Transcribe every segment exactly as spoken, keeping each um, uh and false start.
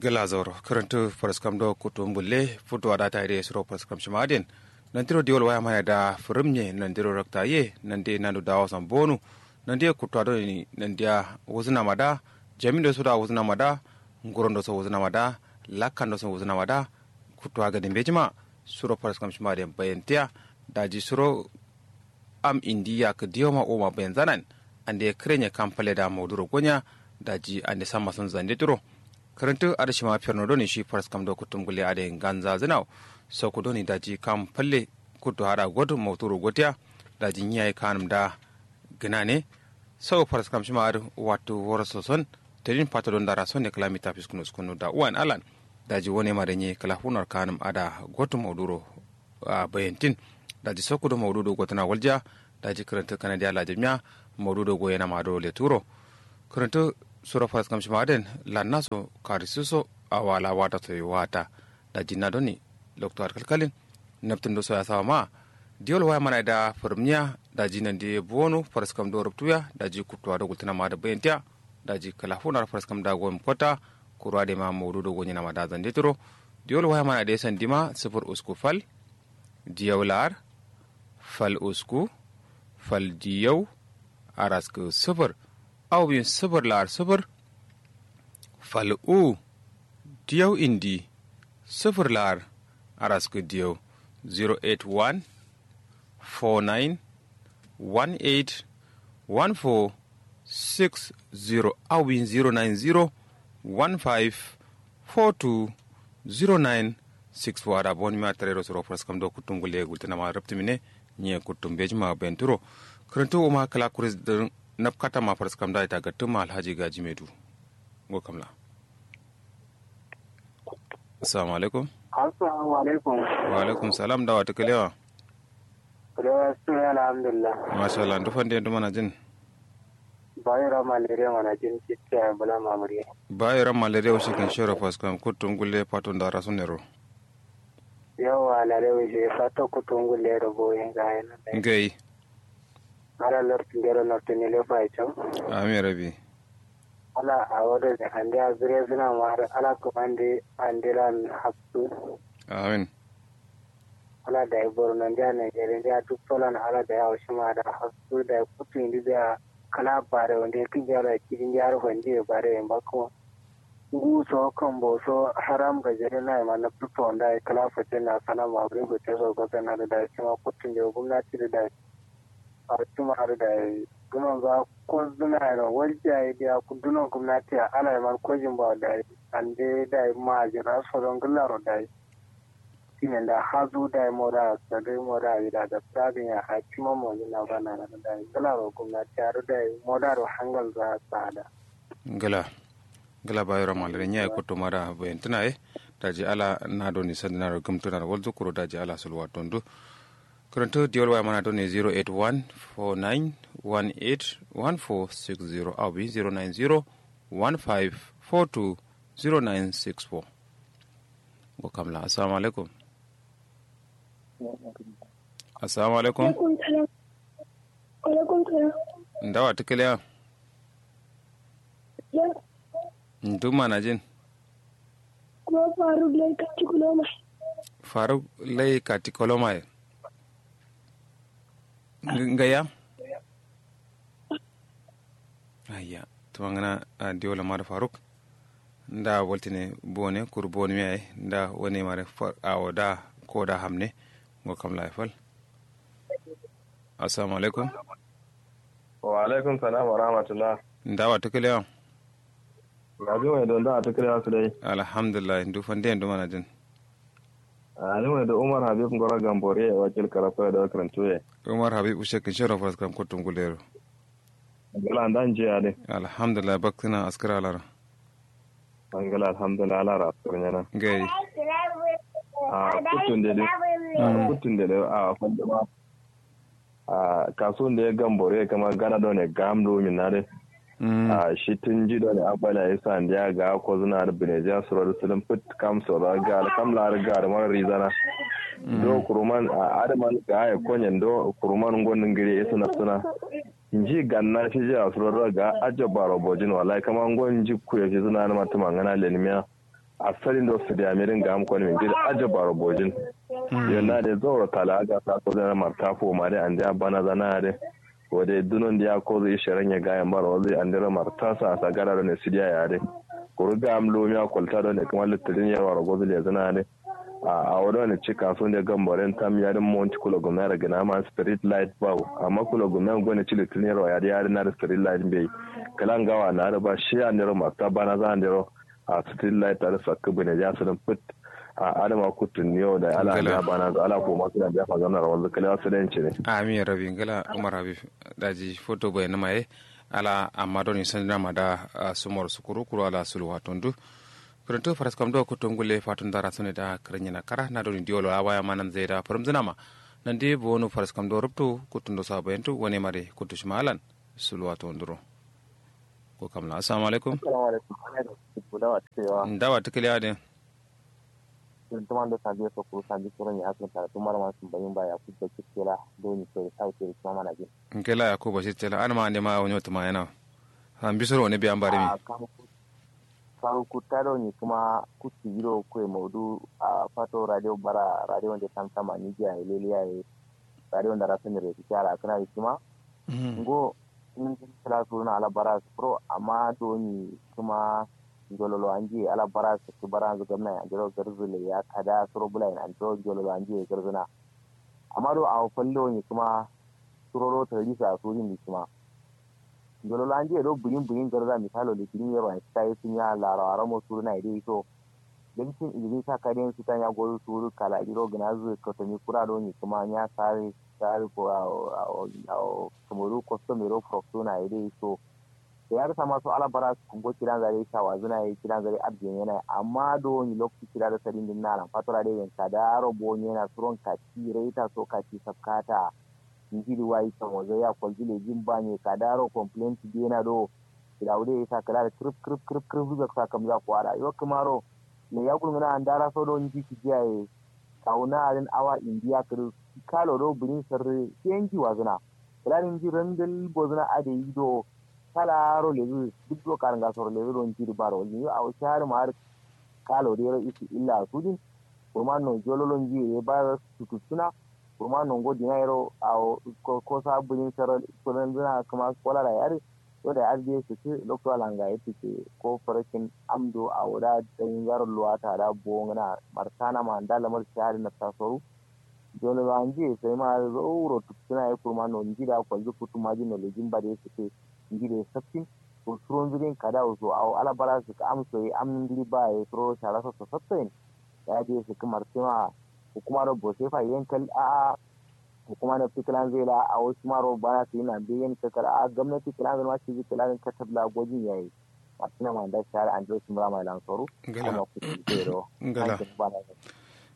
Gla zauro kǝrǝntǝ faraskam do kuttu mbulle futu ada tayi de suro faraskam shima aden. Nandiro diwol waya mana da fǝrǝm nye nandiro rakta ye nande nandu dawo san bonu. Nande kuttu ado ni nandiya wuzǝna ma da. Jamin do so da wuzǝna ma da. Nguron do so wuzǝna ma da. Lakkan do so wuzǝna ma da. Kuttu aga dimbe jima suro faraskam shima aden bayantiya. Daji suro am indi yakǝ diyo ma uma bayanzanan. Ande kǝrenye kam falle da mauduro gonya. Daji ande samma son zande turo. Kǝrǝntǝ adǝ shima ferno doni shi faraskam do kuttum gulle adǝ nganza zǝnau. Soku doni daji kam falle kuttu hada gotu mauturo gotiya. Daji nyiyayi kanǝm da gǝnane. Sau faraskam shima adǝ wattu woro soson. Tedin fato don dara sonne kǝla mita fiskunu skunu da uwan alan. Daji wone ma da nyi kǝla funar kanǝm ada gotu mauduro. A bayantin. Daji soku do maudu do gotǝna walja. Daji kǝrǝntǝ kanadiya lajamiya. Maudu do goyena ma do leturo. Kǝrǝntǝ suro faraskam shima aden lannaso karisuso. Awala wata soyi wata. Daji na doni lokto ad kalkalin. Naptǝn do soya sawa ma. Diwol waya mana da fǝrǝmniya. Daji nandi bonu faraskam do ruptuya. Daji kuttuwa do gultǝna ma da bayantiya. Daji kǝla funar faraskam da goyim kota. Kuru adǝ ma maudu do gonyena ma da zande turo. Diwol waya mana da sandima sǝfur usku fal. Diyau la'ar fal usku fal diyau araskǝ sǝfur. Au bin sǝfur la'ar sǝfur fal u diyau indi sǝfur la'ar araskǝ diyau. Zero eight one four nine one eight one four six zero au bin zero nine zero one five four two zero nine six four ada boni ma tarero suro faraskam do kuttum gulle gultǝna ma raptǝmine. Nyiye kuttum bejima benturo. Kǝrǝntǝ uma kǝla kuris dǝ napkata ma faraskam da ita gattǝma alhaji gaji medu. Ngo kamla. Assalamu alaikum. Assalamu alaikum. Wa alaikum salam da wata kalewa. Kalewa suna alhamdulillah. Masha Allah ndu fande ndu mana jin. Bayo ramma lere mana jin citta bula mamuri. Bayo ramma lere wushi kan shero faraskam kuttum gulle fato ndara sunero. Yawwa lale wushi fato kuttum gulle ro boye ngaye. Ngai. Ala lortu ndero lortu ni lefa icho. Amin rabi. Ala awo do ne ande azure suna ma har ala kumande ande lan hapsu. Amin. Ala dai borno ndia nigeria ndia duk solan ala dai awo shima da hapsu dai kutu indi biya. Kǝla bare wande kǝnja da kidin ndia ro fandi ye bare ye mbakko. Ngu so kambo so haram gajere nayi ma nabtu to ndayi kǝla fate na sana ma buri fate so gosana da dayi shima kuttu nde gumnati da dayi. Awo shima da dayi duno nga kozduna yero walja ye diya duno gumnati ya ala ye man kojin ba dayi. Ande dayi majira soro ngǝlla ro dayi. Time nda hazu dayi moda sadai moda wida da sadin ya a shima mojin na bana na dayi ngǝlla ro gumnati ya ro dayi moda ro hangal za sada. Ngla. Ngla bayero malare nyaye kuttu mada bayantǝna ye. Daji ala na doni sandǝna ro gǝmtǝna ro walzu kuro daji ala sulwa tondu. Kǝrǝntǝ diyol waya mana doni zero eight one four nine one eight one four six zero awi zero nine zero one five four two zero nine six four. Ngo kamla assalamu alaikum. Assalamu alaikum. Alaikum salam. Alaikum salam. Ndawa tǝkǝleya. Ya. Ndu mana jin. Kuma faruk lai kati koloma. Faruk lai kati koloma ye. Ngaya. Ayya. Tumangana. Diola mada faruk. Nda waltine bone kur bone miyaye nda wane mare. Awo da ko da hamne. Ngo kamla ye fal. Assalamu alaikum. Wa alaikum salam wa rahmatullah. Ndawa tǝkǝlewa. Gaji mai don da tǝkǝlewa su dai. Alhamdulillah ndu fande ndu mana jin. Ani mai da umar habib ngoro gambore wakil karafo da karantu ye. Umar habib ushe kin shero faraskam kuttum gulero. Ngala nda njiya de. Alhamdulillah bakkina askara alara. Ngala alhamdulillah alara askara nyana. Ngai. A kuttunde de. Kuttunde de a fanduma. A kasunde gambore kama gana done gamdo min na de. A shi tun ji done abala isa ndiya ga ko zuna da binejiya suro da sulun fit kam suro ga kam la ga da mara rizana. Do kuruman a adaman ga ya konyen do kuruman ngon ngire isuna suna. Nji ganna shi ji asuro do ga ajabaro bojin wallahi kama ngon nji kuye shi suna na matuma ngana lenimiya. Asalin do sǝdiya mirin gam koni min jiri ajabaro bojin. Yo na de zauro tala aga sa ko zana marta fo ma de ande abana zana de. Wo de dunon de ya kozo ishe ranye gayan baro wazi andero marta sa sa gara do ne sǝdiya ya de. Kuru gam lumiya kolta do ne kuma lutturin yarwa ro gozo le zana de. A awo do ne cika sun de gamboren tam ya de monti kulo gumna ra gina ma street light bawo amma kulo gumna go ne ci lutturin yarwa ya de ya de na de street light bai. Kala ngawa na de ba shi andero marta bana za andero. A street light tare sakka bune ja sudun fit. A adama kutun yo da ala Ngala. Ala bana ala ko masu da jafa zanna rawal kalewa su da yanci ne. Amin ya rabi ngala umar habib. Daji foto bai numa ye. Ala amma doni sandina ma da sumor sukuru kuru ala sulu watondu. Kuruntu faras kam do kutun gulle fatun dara sune da kirin yana kara na doni diwolo a waya manan zai da farum zina ma. Nan di bonu faras kam do rubtu kutun do sabayantu wani mare kutu shimalan. Sulu watonduro. Ko kamla assalamu alaikum. Ndawa tukiliya de. Tuma ndo sanji so kuru sanji kuru ni asin tara tuma ma sun bayin ba ya ku da kikkela do ni so sai sai tuma mana jin. Nkela ya ku bashir tela an ma ande ma wonyo tuma yana. An bisoro ne bi an bari mi. Karu kutta do ni kuma kutti yiro kwe maudu a fato radio bara radio nde tam tam ani ji a ileliya ye. Radio nda rasu ni reti kyara kana isuma. Ngo in kala suruna ala bara sukuro amma doni kuma njololo anji ala bara sukki bara nzu gamna ya njiro garzule ya kada suro bula ina njiro njololo anji ya garzuna. Amma do awo fallo ni kuma suroro tarisa suri ni kuma njololo anji ya do burin burin garza misalo le kirin yero an sita yesu nya laro aramo suruna ya dai so. Dalcin irin sa kaden su tanya gozu suru kala diro gnazu kotomi kura do ni kuma nya sare sare ko awo awo awo kamaru kosto mero proxo na ide so. Da ya rasa masu ala bara su kungo kiran zare sa wazuna ya kiran zare abjin yana amma do ni lokti kira da sadin din na lan fatura de yan kadaro bo ni na suron kati reta so kati sakkata. Njiri wayi kamo zai ya kwalji le jin ba ne kadaro complaint de na do. Kira wude ya sa kala da krip krip krip krip zuga sa kamza kwara yo kamaro. Ne ya gulguna andara so do nji kijiya ye. Kauna adin awa indiya kiri kalo do birin sirri sai nji wazuna. Kala da nji randal bozuna ade yi do. Kala ro lezu duk do karanga soro lezu do nji di baro ni yo awo shahar ma har. Kalo de ro isi illa sudin. Kurman no jololo nji ye ba tututtuna. Kurman no ngo dina yero awo ko sa birin sirri kudan zuna kuma kolara yari. Yo da adde sǝkǝ loktu ala ngaye tǝke ko fǝrǝkin amdo awo da dai ngaro luwata da bo ngǝna. Martana ma nda lamar shahari nafta soru. Jolo lo anje sai ma zauro tuktuna ye kurma no nji da kwalji kutu maji no lejin ba dai sǝkǝ. Nji dai saftin. Ko suron zirin kada uso awo ala bara sǝkǝ amso ye amnin diri ba ye suro shara safta safta yin. Da adde sǝkǝ martana. Hukuma do bose fa yen kal a'a. Hukuma nafti kǝlanzǝ ye la awo shima ro bana sǝ yina mbeyi yen kakkara a'a gomnati kǝlanzǝ ma shiji kǝlanzǝ katab la gojin yayi. Martina ma nda share andiro shimra ma lan soru. Ngala. Amma kutu zero. Ngala.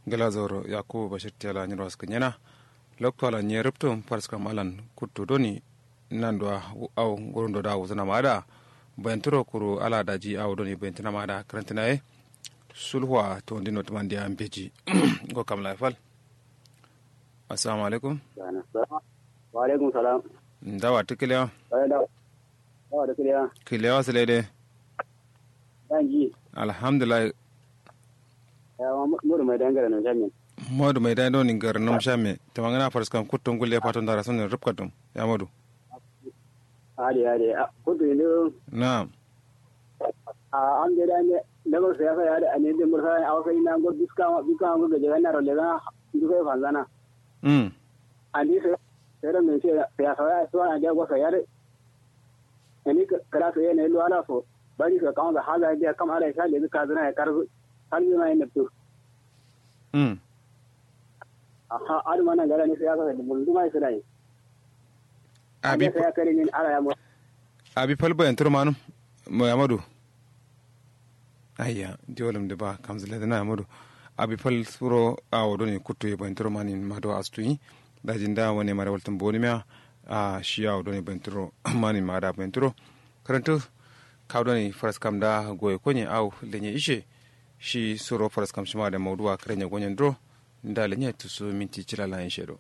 Ngala zauro yakubu bashir tela nyiro askǝ nyena. Loktu ala nye ruptum faraskam alan kuttu doni. Nandua awo ngurundo da wuzǝna ma ada. Bayanturo kuru ala daji awo doni bayantǝna ma ada kǝrantǝna ye. Sulhuwa tondino tǝmandiya mbeji. Ngo kam layi fal. Assalamu alaikum. Wa alaikum salam. Ndawa tǝ kǝliya? Ndawa tǝ kǝliya? Kǝliya wa sǝlai dai. Danji. Alhamdulillah. Modu mai dai ngara num shamme. Modu mai dai doni ngara num shamme. Tǝmangana faraskam kuttu ngulle fato ndara sǝnne rupkatum ya modu. Ade ade. Kuttu indo. Na'am. A am de da ne lamar siyasa ya da ne de mursa ya awsa ina ngo biska biska ngo gaje na rolle na. Ndu kai fanzana. Mm. Andi se se da men se siyasa ya so ande go sayar. Ani kala se ne lo ala so bari so kawon da haza de kam ala sha le ka zana ya karzu. Har zuna yin nabtu. Mm. Aha aduma nan gara ne siyasa da bulunduma ya sirani. Abi abi fal bayan turmanum. Mai amadu. Ayya diwolum de ba kamzile de na amadu. Abi fal suro awo doni kuttu ye bayan turmanin ma do astuyi. Daji nda wane mare waltum boni miya. A shi awo doni bayan turo manin ma da bayan turo. Karantu kawo doni faraskam da goye konye awo lenye ishe. Shi suro faraskam shima da mauduwa kare nye gonyen duro. Nda lenye tusu minti cila lan ishe do.